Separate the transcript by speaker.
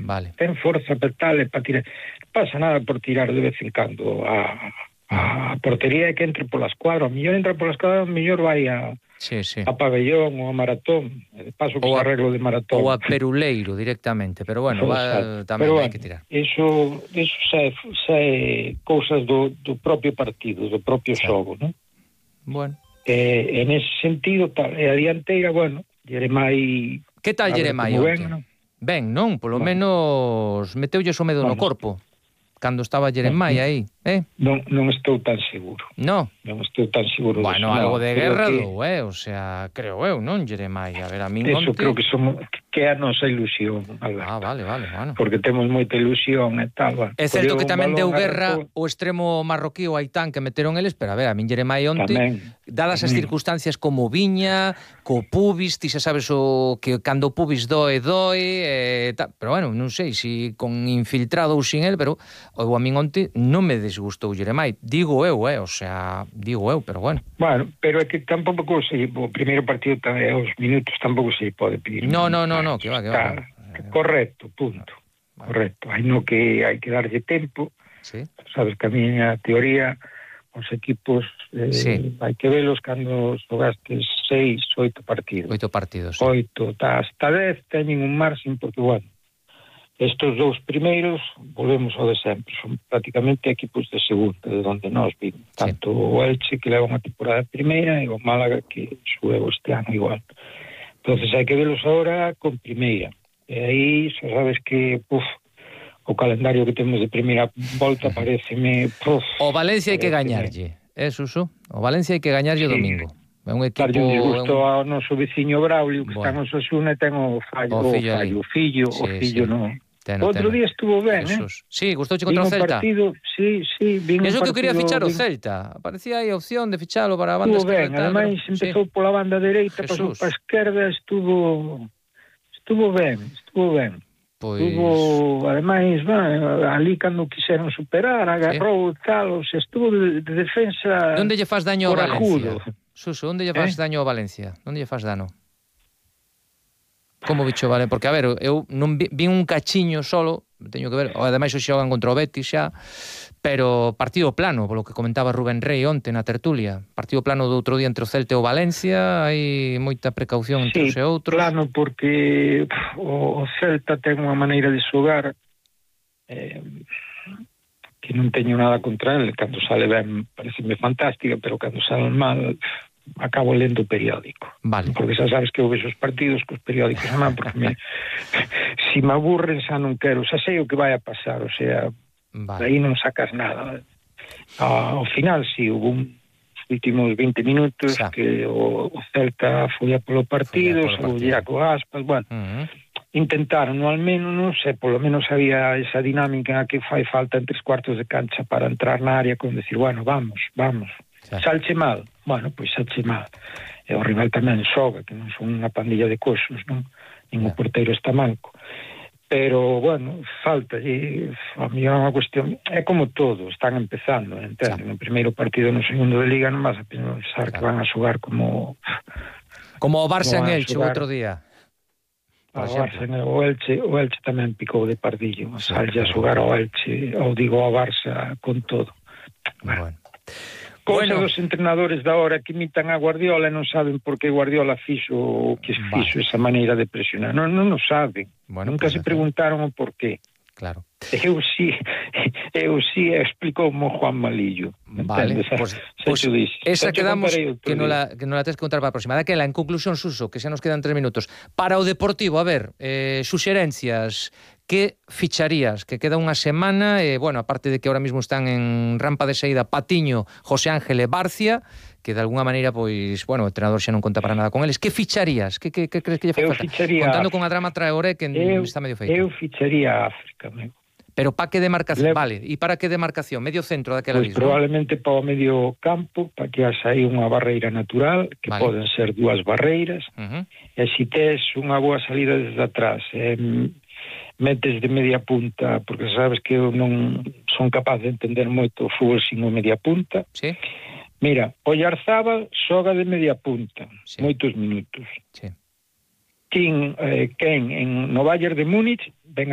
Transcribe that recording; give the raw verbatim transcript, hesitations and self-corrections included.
Speaker 1: Vale.
Speaker 2: Ten forza para tal e para tirar. Non pasa nada por tirar de vez en cando a, a portería é que entre pola escuadra. O mellor entra pola escuadra, o mellor vai a,
Speaker 1: sí, sí.
Speaker 2: a pabellón ou a maratón. De paso que se arreglo de maratón.
Speaker 1: Ou a peruleiro directamente, pero bueno, va, tamén
Speaker 2: pero,
Speaker 1: hai
Speaker 2: bueno,
Speaker 1: que tirar.
Speaker 2: Iso, iso xa, é, xa é cousas do, do propio partido, do propio sí. xogo, non?
Speaker 1: Bueno.
Speaker 2: Eh, en ese sentido, tal, e a dianteira, bueno, Jeremai...
Speaker 1: Que tal Jeremai onte? Ben, ben, non? Polo bueno. menos meteulles o medo bueno. no corpo. Cando estaba Jeremai no, aí, eh?
Speaker 2: Non, non estou tan seguro.
Speaker 1: No.
Speaker 2: Non estou tan seguro.
Speaker 1: Bueno,
Speaker 2: disso,
Speaker 1: algo
Speaker 2: no,
Speaker 1: de guerra
Speaker 2: que...
Speaker 1: do, eh? O sea, creo eu, non, Jeremai? A ver, a min
Speaker 2: Eso
Speaker 1: onte...
Speaker 2: creo que somos, que é a nosa ilusión, Alberto.
Speaker 1: Ah, vale, vale, bueno.
Speaker 2: Porque temos moita ilusión e tal, bueno.
Speaker 1: É certo que tamén deu guerra arrancou... o extremo marroquí o Aitán que meteron eles, pero a ver, a min Jeremai onte, tamén, dadas tamén. as circunstancias como viña, co pubis, ti xa sabes o que cando o pubis doe, doe, eh, tal, pero bueno, non sei se si con infiltrado ou sin el, pero o a min onte non me desgustou Jeremai, digo eu, eh, o sea, digo eu, pero bueno.
Speaker 2: Bueno, pero é que tampouco se, o primeiro partido tamén, os minutos tampouco se pode pedir.
Speaker 1: No, no, no, no, que va, que va.
Speaker 2: Correcto, punto. Vale. Correcto. Hai no que hai que darlle tempo.
Speaker 1: Sí.
Speaker 2: Sabes que a miña teoría, os equipos eh, sí. hai que velos cando xogaste seis, oito partidos.
Speaker 1: Oito partidos, sí.
Speaker 2: Oito, hasta dez teñen un marxen, porque, bueno, estos dous primeiros, volvemos ao de sempre, son prácticamente equipos de segunda, de onde nós vimos. Tanto sí. o Elche, que leva unha temporada primeira, e o Málaga, que subeu este ano igual. Entonces hai que velos agora con primeira. E aí, xa sabes que, puf, o calendario que temos de primeira volta pareceme, puf...
Speaker 1: O Valencia hai que gañarlle, é, Suso? O Valencia hai que gañarlle o sí. domingo. É un equipo...
Speaker 2: Darlle un disgusto un... ao noso veciño Braulio, que bueno. está no Osasuna, e ten o fallo, o fillo, o, fallo, o fillo, sí, o fillo, sí. no... Teno, Outro teno. día estuvo ben, Jesús.
Speaker 1: eh? Sí, gustouche contra o Celta.
Speaker 2: Partido, sí, sí, vin
Speaker 1: Eso
Speaker 2: un
Speaker 1: que eu quería fichar o
Speaker 2: vin...
Speaker 1: Celta. Parecía aí a opción de ficharlo para a banda
Speaker 2: estuvo
Speaker 1: esquerda.
Speaker 2: Ben, ademais pero... empezou sí. pola banda dereita, pasou para a esquerda, estuvo estuvo ben, estuvo ben.
Speaker 1: Pois...
Speaker 2: Estuvo, ademais, bueno, ali cando quixeron superar, agarrou sí. tal, o sea, estuvo de, de defensa.
Speaker 1: Onde lle faz daño a Valencia?
Speaker 2: Ajudo.
Speaker 1: Suso, onde lle faz eh? daño a Valencia? Onde lle faz dano? Como bicho, vale? Porque, a ver, eu non vi, vi un cachiño solo, teño que ver, ademais hoxe xogan contra o Betis xa, pero partido plano, polo que comentaba Rubén Rey onte na tertulia, partido plano do outro día entre o Celta e o Valencia, hai moita precaución entre sí, os e outros.
Speaker 2: Plano porque o Celta ten unha maneira de xogar eh, que non teño nada contra ele, cando sale ben pareceme fantástica, pero cando sale mal acabo lendo o periódico.
Speaker 1: Vale.
Speaker 2: Porque xa sabes que eu vexo os partidos cos periódicos a man, porque me, si me aburren xa non quero, xa sei o que vai a pasar, o sea, vale. aí non sacas nada. Ao final, si, hubo un últimos veinte minutos xa. que o, o Celta foi a polo partido, o Iaco Aspas, bueno, uh-huh. intentaron, no al menos, non sei, polo menos había esa dinámica que fai falta en tres cuartos de cancha para entrar na área con decir, bueno, vamos, vamos. Salche mal, bueno, pois salche mal. E o rival tamén xoga, que non son unha pandilla de coxos, non? Ningún porteiro está manco. Pero, bueno, falta, e a mí é unha cuestión, é como todo, están empezando, entende? No primeiro partido no segundo de Liga non vas a pensar claro. que van a xogar como...
Speaker 1: Como o Barça en Elche o outro día.
Speaker 2: O Barça, o Elche, o Elche tamén picou de pardillo, sí, sallle a xogar ao Elche, ou digo ao Barça con todo.
Speaker 1: Bueno. bueno.
Speaker 2: Cosa bueno. dos entrenadores da hora que imitan a Guardiola e non saben por que Guardiola fixo o que fixo vale. esa maneira de presionar. Non, non o saben. Bueno, Nunca pues, se preguntaron o por qué.
Speaker 1: Claro.
Speaker 2: Eu sí, eu sí explicou mo Juan Malillo.
Speaker 1: Vale, pois pues, pues esa quedamos que non la, que non la tens que contar para a próxima. Daquela, en conclusión, Suso, que xa nos quedan tres minutos. Para o Deportivo, a ver, eh, suxerencias, que ficharías? Que queda unha semana, e, eh, bueno, aparte de que ahora mismo están en rampa de saída Patiño, José Ángel e Barcia, que de alguna maneira, pois, bueno, o entrenador xa non conta para nada con eles. Que ficharías? Que, que, que crees que lle fai falta? Contando con a Drama Traoré, que eu, está medio feito.
Speaker 2: Eu ficharía a África, amigo.
Speaker 1: Pero para que demarcación? Le... Vale, e para que demarcación? Medio centro daquela
Speaker 2: pues
Speaker 1: misma?
Speaker 2: Probablemente para o medio campo, para que haxa aí unha barreira natural, que vale. poden ser dúas barreiras, uh-huh. e se tes unha boa salida desde atrás, eh, metes de media punta, porque sabes que eu non son capaz de entender moito o fútbol sin o media punta.
Speaker 1: Sí.
Speaker 2: Mira, Oyarzábal xoga de media punta, sí. moitos minutos.
Speaker 1: Sí.
Speaker 2: Ken, eh, Ken en no Bayern de Múnich ven a